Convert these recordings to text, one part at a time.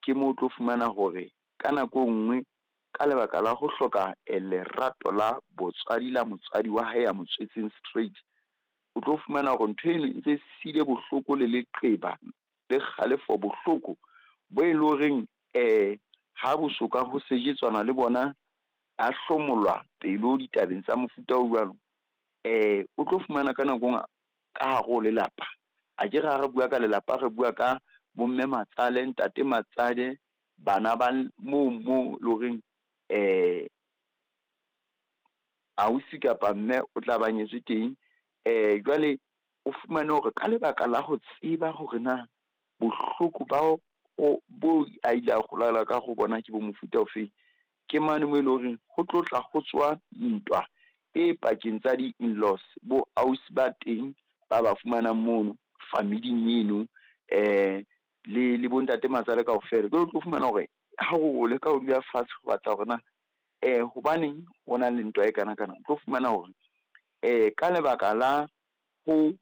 Ke moo o tlo fumana hore ka nako e nngwe ka lebaka la ho hloka lerato la botswadi la motswadi wa hae ya mo tswetseng straight, o tlo fumana hore ntho eno e ntse sile bohloko le leqeba le kgalefo bohloko bo e le horeng ha bo soka ho sejetsana le bona, a hlomolwa pelo ditabeng tsa mofuta o jwalo. O tlo fumana ka nako e nngwe ka hare ho lelapa, akere ha re bua ka lelapa, re bua ka bomme matsale, ntate matsale, bana ba moo mo le horeng ausi kapa mme o tla ba nyetswe teng. Jwale o fumane hore ka lebaka la ho tseba hore na bohloko ba o bo a ile a holela ka hare ho bona ke bo mofuta ofeng. Ke mane moo eleng horeng ho tlo tla ho tsoha ntwa e pakeng tsa di-inlaws, bo ausi ba teng ba ba fumanang mono familing eno, le bo ntate matsale kaofela. Jwale o tlo fumana hore ha o leka ho dula fatshe ho batla hore na hobaneng ho na le ntwa e kanakana, o tlo fumana hore ka lebaka la ho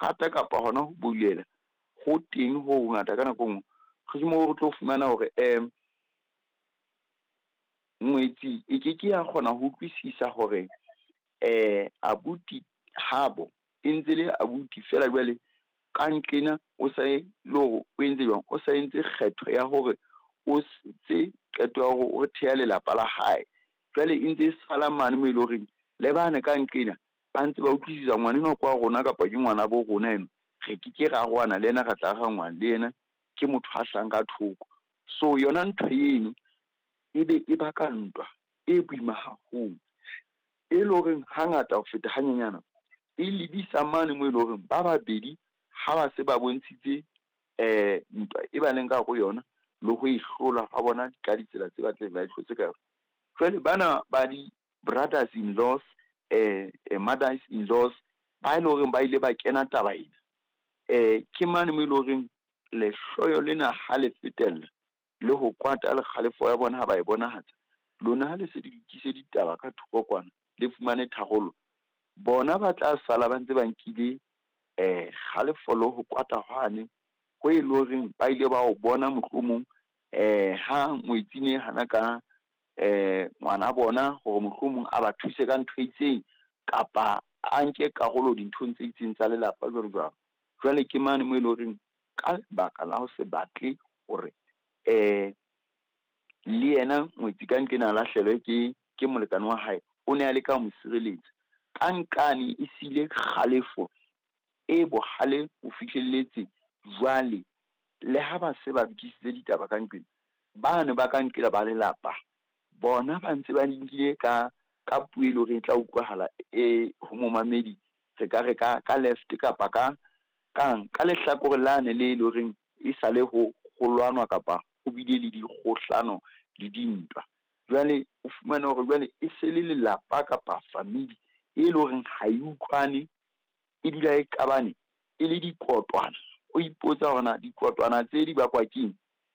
rata kapa hona ho boulela ho teng ho hongata ka nako e nngwe. Ke moo re tlo fumana hore ngwetsi e keke ya kgona ho utlwisisa hore abuti habo e ntse le abuti feela jwale ka nqena o sa e le hore o entse jwang, o sa entse kgetho ya hore o setse qeto ya hore o theha lelapa la hae. Jwale e ntse e sala mane moo e le horeng le bane ka nqena ba ntse ba utlwisisa ngwana enwa ke wa rona kapa ke ngwana bo rona enwa. Re keke ra arohana le yena, re tla arohangwa le yena ke motho a hlahang ka thoko. So yona ntho eno e be e baka ntwa e boima haholo, e leng horeng hangata ho feta hanyenyana, e lebisa mane moo e leng hore ba babedi ha ba se ba bontshitse ntwa e ba leng ka hare ho yona, le ho e hlola ha bona ka ditsela tse batlang ba e hlotse ka yona. Jwale bana ba di-brothers inlaws, mothers inlaws, ba e leng hore ba ile ba kena taba ena. Ke mane moo e leng horeng lehloyo lena ha le fetella, le ho kwata le kgalefo ya bona ha ba e bonahatsa, lona ha le se le lokise ditaba ka thoko kwana, le fumane tharollo. Bona ba tla sala ba ntse ba nkile kgalefo le ho kwata hwane ho e le horeng ba ile ba o bona mohlomong ha ngwetsi e ne hana ka ngwana bona hore mohlomong a ba thuse ka ntho e itseng, kapa a nke karolo dinthong tse itseng tsa lelapa jwalo jwalo. Jwale ke mane moo e leng horeng ka lebaka la ho se batle hore le yena ngwetsi ka nqena a lahlehelwe ke molekane wa hae, o ne a leka ho mo sireletsa. Ka nqane e siile kgalefo e bohale ho fihlelletse jwale, le ha ba se ba lokisitse ditaba ka nqena, bane ba ka nqela ba lelapa, bona ba ntse ba di nkile ka ka puo e leng hore e tla utlwahala e ho momamedi. Re ka re ka left kapa ka kang ka lehlakore lane le leng horeng e sale ho ho lwanwa kapa ho bile le dikgohlano le dintwa. Jwale o fumane hore jwale e se le lelapa kapa family e leng horeng ha e utlwane, e dula e qabane e le dikotwana. O ipotsa hore na dikotwana tse di bakwa keng?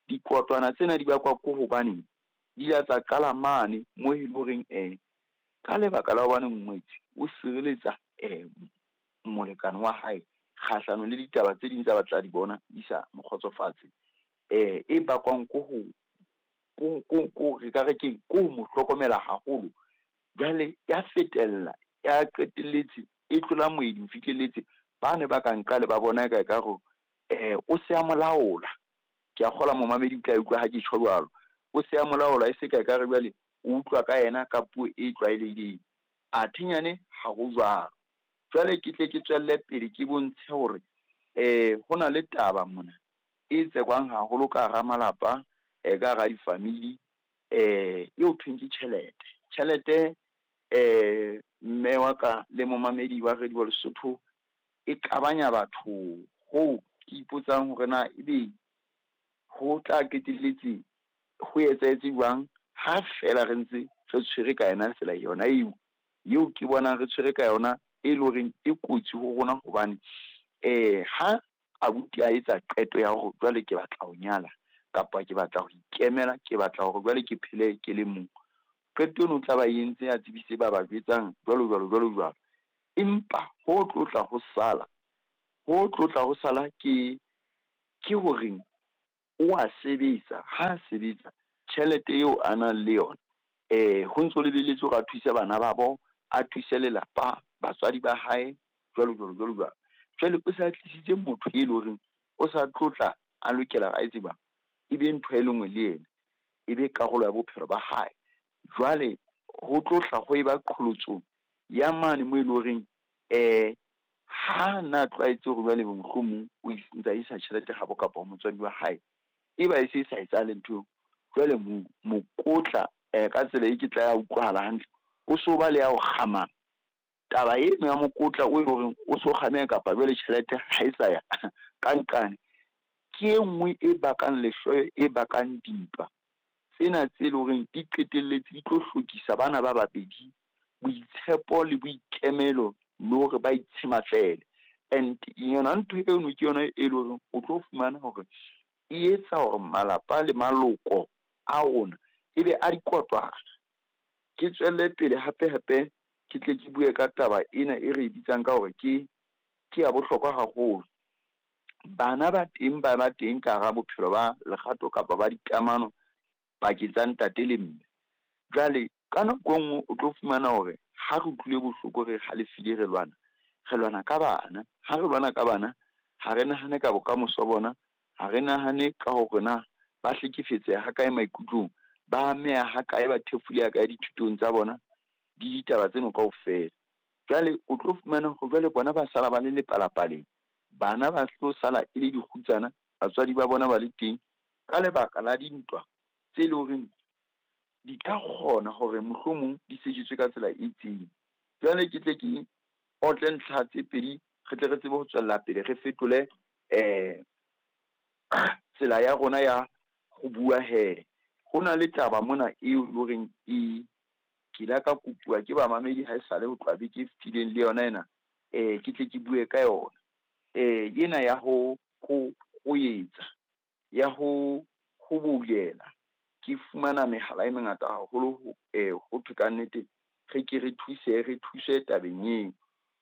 Dikotwana tsena di bakwa ko hobaneng di ile tsa qala mane moo e leng horeng ka lebaka la hobane ngwetsi o sireletsa molekane wa hae kgahlano le ditaba tse ding tsa batla di bona di sa mo kgotsofatse. E bakwang ko ho ko re ka re keng, ko ho mo hlokomela haholo. Jwale ya fetella, ya qetelletse e tlola moedi ho fihlelletse bane ba ka nqale ba bona e ka ekare o se a mo laola. Ke a kgolwa momamedi o tla utlwa ha ke tjho jwalo. O se a mo laola e se ka ekare jwale o utlwa ka yena ka puo e tlwaelehileng. Athe nyane ha ho jwalo. Jwale ke tle ke tswelle pele ke bontshe hore ho na le taba mona e tsekwang haholo ka hara malapa, ka hara di-family, eo thweng ke tjhelete. Tjhelete mme wa ka le momamedi wa Radio Lesotho, e qabanya batho hoo ke ipotsang hore na ebe ho tla qetelletse ho etsahetse jwang ha feela re ntse re tshwere ka yona tsela yona eo, eo ke bonang re tshwere ka yona e leng horeng e kotsi ho rona hobane ha abuti a etsa qeto ya hore jwale ke batla ho nyala kapa ke batla ho ikemela, ke batla hore jwale ke phele ke le mong. Qeto eno o tla ba entse a tsebise ba ba jwetsang jwalo jwalo jwalo jwalo. Empa ho tlo tla ho sala, ho tlo tla ho sala ke horeng O a sebetsa, ha a sebetsa tjhelete eo a nang le yona, ho ntso lebelletswe hore a thuse bana ba bo, a thuse lelapa, batswadi ba hae, jwalo jwalo jwalo jwalo. Jwale o sa tlisitse motho e leng horeng o sa tlotla a lokela a tseba, e be ntho e le nngwe le yena, e be karolo ya bophelo ba hae. Jwale ho tlohla ho eba qholotso ya mane moo e leng horeng ha na tlwaetse hore jwale mohlomong o ntsa isa tjhelete habo kapa ho motswadi wa hae, e ba e se e sa etsahale ntho eo. Jwale mokotla ka tsela e ke tla ya utlwahala hantle, o so ba le ya o kgamang. Taba eno ya mokotla o e leng hore o so kgameha kapa jwale tjhelete ha e sa ya ka nqane, ke e nngwe e bakang lehloyo, e bakang dintwa. Tsena tse leng horeng di qetelletse di tlo hlokisa bana ba babedi boitshepo le boikemelo le hore ba itshematlele. And yona ntho eno ke yona e leng hore o tlo fumana hore e etsa hore malapa le maloko a rona e be a dikotwana. Ke tswelle pele hape hape ke tle ke bue ka taba ena e re e bitsang ka hore ke ya bohlokwa haholo. Bana ba teng ba ba teng ka hara bophelo ba lerato kapa ba dikamano pakeng tsa ntate le mme. Jwale ka nako e nngwe o tlo fumana hore ha re utlwile bohloko, re halefile, re lwana, re lwana ka bana. Ha re lwana ka bana, ha re nahane ka bokamoso bona, ha re nahane ka hore na ba hlekefetseha ha kae maikutlong, ba ameha ha kae, ba thefuleha kae dithutong tsa bona, le ditaba tseno kaofela. Jwale o tlo fumana hore jwale bona ba sala ba le lepalapaleng, bana ba tlo sala e le dikgutsana, batswadi ba bona ba le teng, ka lebaka la dintwa tse leng horeng di ka kgona hore mohlomong di sejetswe ka tsela e itseng. Jwale ke tle ke otle ntlha tse pedi, re tle re tsebe ho tswella pele re fetole tsela ya rona ya ho bua he. Ho na le taba mona eo e loreng e ke la ka kopuwa ke bamamedi ha esale ho tloha beke e fetileng le yona ena, ke tle ke bue ka yona. Ena ya ho etsa, ya ho boulela. Ke fumana mehala e mengata haholo ho thwe ka nnete re ke re thuse, re thuse tabeng eo.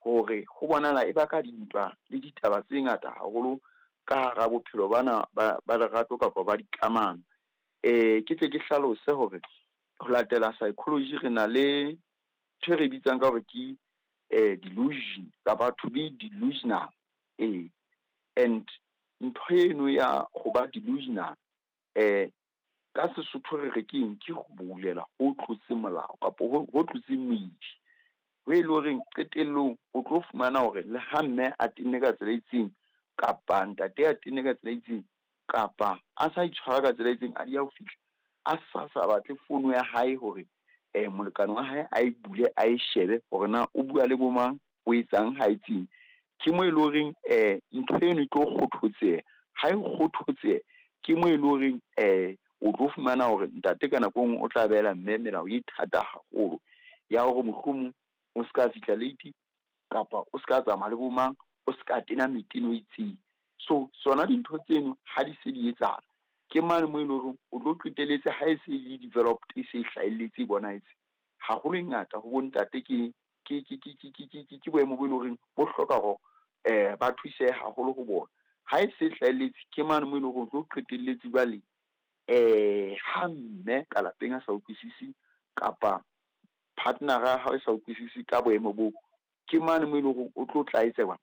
Hore ho bonahala e baka dintwa le ditaba tse ngata haholo ka hara bophelo bana ba lerato kapa ba dikamano. Ke tle ke hlalose hore ho latela psychology re na le ntho e re bitsang ka hore ke delusion kapa to be delusional. And ntho eno ya ho ba delusional, ka Sesotho re re keng, ke ho boulela ho tlotse molao kapa ho tlotse moedi. Ho e le horeng qetellong o tlo fumana hore le ha mme a tenne ka tsela e itseng, kapa ntate a tenne ka tsela e itseng, kapa a sa itshwara ka tsela e itseng, a di ya ho fihla, a sa batle fono ya hae hore molekane wa hae a e bule, a e shebe hore na o bua le bo mang, o etsang, ha etseng. Ke mo e le horeng ntho eno e tlo kgothotseha. Ha e kgothotseha, ke mo e le horeng o tlo fumana hore ntate ka nako e nngwe o tla behela mme melao e thata haholo ya hore mohlomong o ska fihla late, kapa o ska tsamaya le bo mang, o ska tena meteno e itseng. So sona dintho tseno ha di se di etsahala, ke mane moo e leng hore o tlo qetelletse ha e se e developed, e se e hlahelletse, e bonahetse. Haholo e ngata ho bontate ke boemo bo e leng horeng bo hloka hore ba thusehe haholo ho bona. Ha e se e hlahelletse, ke mane moo e leng hore o tlo qetelletse jwale ha mme ka lapeng a sa utlwisise kapa partner-a ya hao e sa utlwisise ka boemo boo, ke mane moo e leng hore o tlo tlaetsewa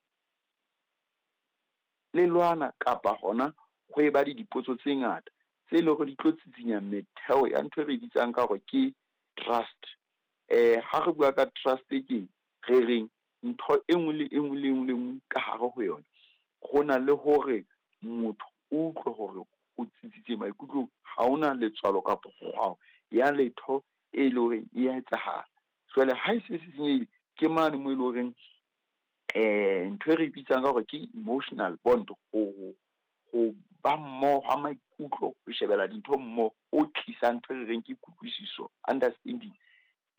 le lwana kapa hona ho eba le dipotso tse ngata tse leng hore di tlo tsitsinya metheo ya ntho e re bitsang ka hore ke trust. Ha re bua ka trust ke re reng ntho e nngwe le e nngwe le nngwe le nngwe ka hare ho yona, ho na le hore motho o utlwe hore o tsitsitse maikutlong, ha hona letswalo kapa kgwao ya letho e leng hore e ya etsahala. Jwale ha e se senyehile, ke mane moo e leng horeng ntho e re bitsang ka hore ke emotional bond, ho ba mmoho ha maikutlo, ho shebella dintho mmoho, o tlisang ntho e re reng ke kutlwisiso, understanding,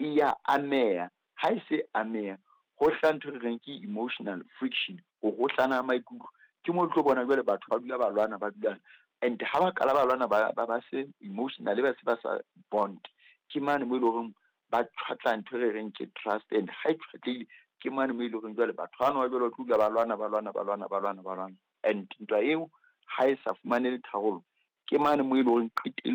e ya ameha. Ha e se ameha, ho hlaha ntho e re reng ke emotional friction, ho hohlana ha maikutlo. Ke mo tlo bona jwale batho ba dula ba lwana, ba dula, and ha ba qala ba lwana ba se emotionally, ba se ba sa bond. Ke mane moo e leng hore ba tjhwatla ntho e re reng ke trust, and ha e tjhwatlehile, ke mane moo e leng hore jwale batho bano ba jwale ba tlo dula ba lwana, ba lwana, ba lwana, ba lwana, ba lwana. And ntwa eo ha e sa fumane le tharollo, Ke mane mo e leng hore qetellong.